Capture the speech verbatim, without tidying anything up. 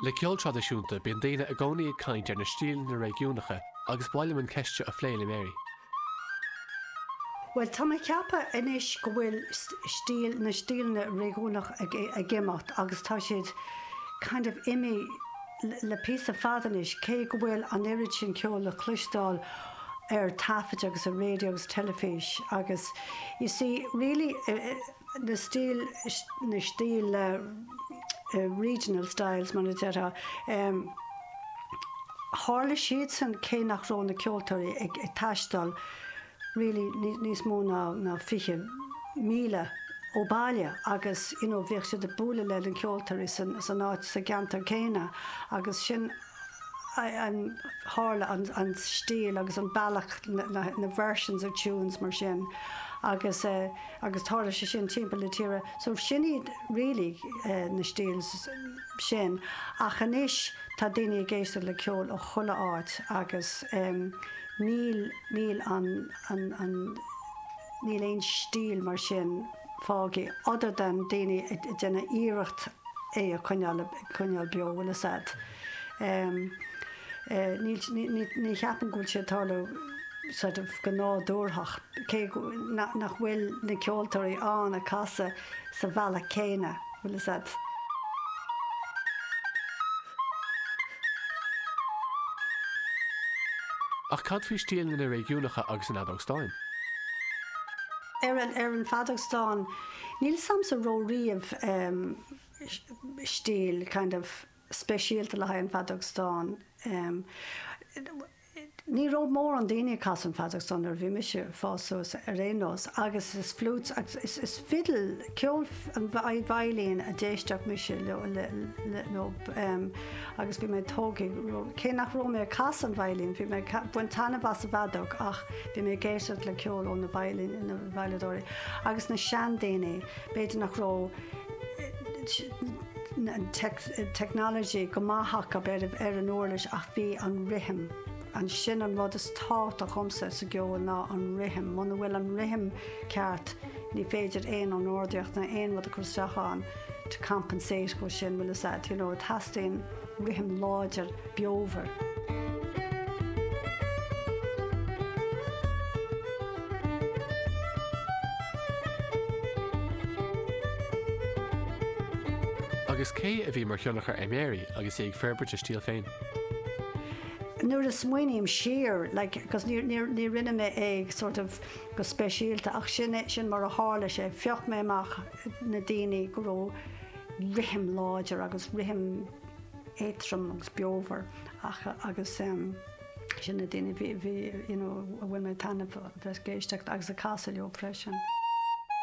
Le ceol traidisiúnta bíonn daoine i gcónaí ag caint ar na stíleanna réigiúnacha agus ba mhaith liom an cheist seo a phlé le Mary. Well tá mé ag ceapadh anois go bhfuil stíl na stíleanna réigiúnach ag, ag imeacht agus tá siad kind of imithe le píosa fada anois cé go bhfuil an oiread sin ceol le cloisteáil ar taifead agus ar radio agus teilifís agus you see really uh, na stíl na stíl uh, uh, regional styles mar a déarfá um, tharla siad san cé nach raibh na ceoltóirí ag, ag taisteal really níos mó ná ná fiche míle ó bhaile agus you know, bhíodh siad ag bualadh le na ceoltóirí san, san áit sa gceantar céanna agus sin an tharla an, an stíl agus an bealach na, na, na versions of tunes mar sin agus uh, agus tharla sé sin timpeall na tíre so sin iad really uh, na styles sin ach anois tá daoine ag éisteacht le ceol ó chuile áit agus um, níl níl an, an, an níl aon stíl mar sin fágtha other than daoine ag déanamh iarracht é a choinneáil coinneáil beo bhfuil a fhios agat. Um, uh, ní, ní, ní, ní cheapaim go bhfuil sé tarlú sort of go nádúrtha cé nach, nach bhfuil na ceoltóirí ann ag casadh sa bhealach céanna bhfuil a fhios agat. Ach cad faoi stíleanna réigiúnacha agus an fheadóg stáin? Ar an, ar an bhfeadóg stáin, níl samsa ró riamh um, stíl kind of speisialta le haghaidh an fheadóg stáin. Um, ní raibh mórán daoine ag casadh an fheadóg stáin nuair a bhí mise ag fás suas ar aon nós agus is flutes agus is, is fiddle ceol an veidhlín a d'éisteadh mise leo, le, le, leo um, agus bhí mé tógtha cé nach raibh mé ag casadh an veidhlín bhí mé baint taitneamh as an bhfeadóg ach bhí mé ag éisteacht le ceol ó na veidhlín na veidhleadóirí agus na seandaoine b'fhéidir nach raibh an technology go maith acu ar, ar an uirlis ach bhí an rithim an sin an rud is tábhachtaí domsa sa gceol ná an rithim, Muna bhfuil an rithim ceart ní féidir aon an ordaíocht ná aon rud a chur isteach ann to compensate go sin bhfuil a fhios agat, you know, teastaíonn rithim láidir beomhar. Agus cé a bhí mar thionchar ar Mary agus í ag forbairt a stíl féin? Nuair a smaoiním siar like, cos ní, ní, ní rinne mé é sort of go speisialta ach sin sin mar a tharla sé phioc mé amach na daoine go raibh rithim láidir agus rithim éadrom agus beomhar ach agus um, sin na daoine bhí bhí you know, a bhfuil mé taitneamh bheith ag éisteacht agus ag casadh leo freisin.